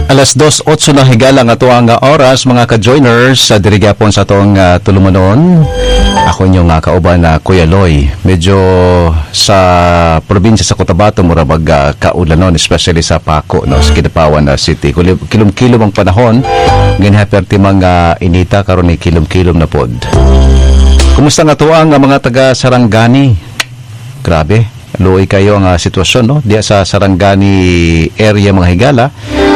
Alas 2:08 na, higala, nga atuang oras, mga ka-joiners sa diri gyapon sa atong tulumanon. Ako inyong kauban na Kuya Loy. Medyo sa probinsya sa Cotabato mura bag kaulanon, especially sa Paco, no, sa Kidapawan na City. Kilom-kilom ang panahon. Ganyan perti mga inita karon ni kilom-kilom na pod. Kumusta nga tuang ang mga taga Sarangani? Grabe, luoy kayo ang sitwasyon, no, diya sa Sarangani area, mga higala.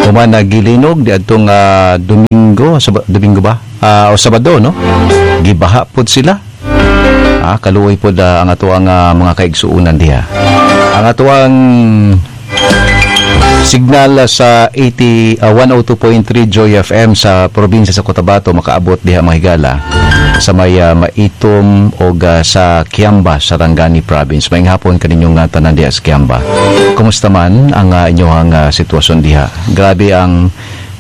Human nagilinog di adtong Domingo, Domingo ba? O Sabado, no? Gibaha pod sila. Kaluoy pod ang atoang mga kaigsuonan diha. Ang atoang signal sa 80 102.3 Joy FM sa probinsya sa Cotabato makaabot diha, mga higala, sa may Maitum o sa Kiamba, Sarangani Province. Maayong hapon kaninyong tanan diha sa Kiamba. Kumusta man ang inyong sitwasyon diha? Grabe ang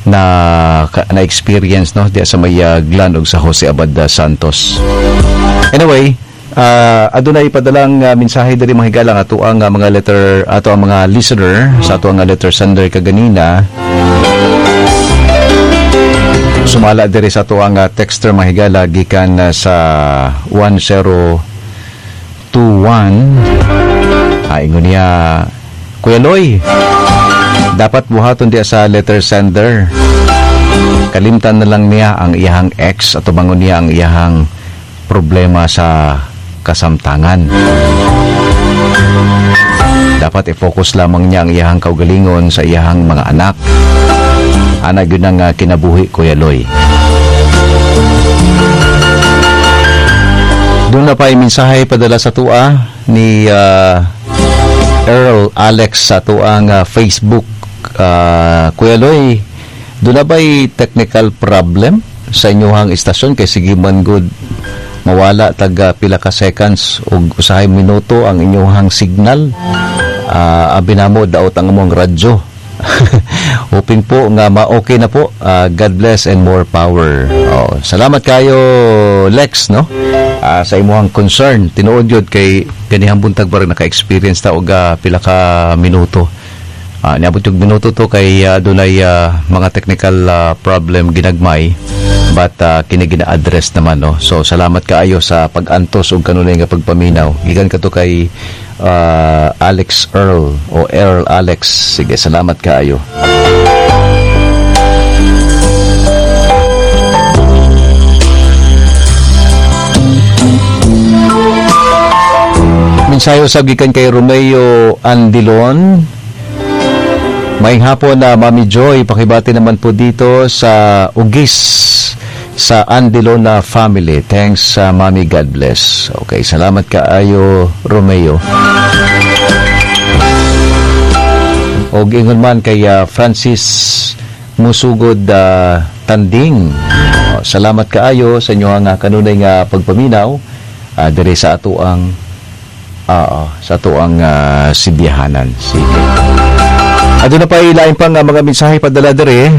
na experience, no, diha sa may Glan ug sa Jose Abad Santos. Anyway, adunay padalang mensahe diri, mga higala, nga atoang mga letter ato ang mga listener sa ato ang letter sender kaganina. Sumala diri sa ato ang texter, mga higala, gikan sa 1021. Ingon niya, "Kuya Loy, dapat buhaton diya sa letter sender. Kalimtan na lang niya ang iyahang ex at tubangon niya ang iyahang problema sa kasamtangan. Dapat i-focus lamang niya ang iyahang kaugalingon sa iyahang mga anak. Ana gyud ang kinabuhi, Kuya Loy." Doon na pa mensahe padala sa tua ni Earl Alex sa tuang Facebook. "Kuya Loy, doon na ba'y technical problem sa inyong istasyon kay sige man good mawala taga pila ka seconds ug usahay minuto ang inyong signal? Abi namo daot ang among radyo. Hoping po nga ma-okay na po. God bless and more power." Oh, salamat kayo, Lex, no? Sa imuhang concern, tinuod yun kay ganihang buntag ba rin naka-experience ta og pila ka minuto. Niabot yung minuto to kay dunay mga technical problem ginagmay, but kini gina-address naman, no. So salamat kaayo sa pag-antos ug kanunay nga pagpaminaw. Gikan kato kay Alex Earl o Earl Alex. Sige, salamat kaayo. Mensahe usab gikan kay Romeo Andilon. "Maayong hapon na Mami Joy, pakibati naman po dito sa Ugis sa Andilona family. Thanks sa Mami, God bless." Okay, salamat kaayo, Romeo. Og ingon man kay Francis Musugod Tanding. Oh, salamat kaayo sa inyong kanunay nga pagpaminaw diri sa ato ang sidyahanan. Sige. Aduna pa ilain pang mga mensahe padala diri.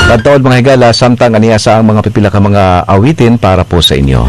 Pagtaod, mga higala, samtang aniya sa ang mga pipila ka mga awitin para po sa inyo.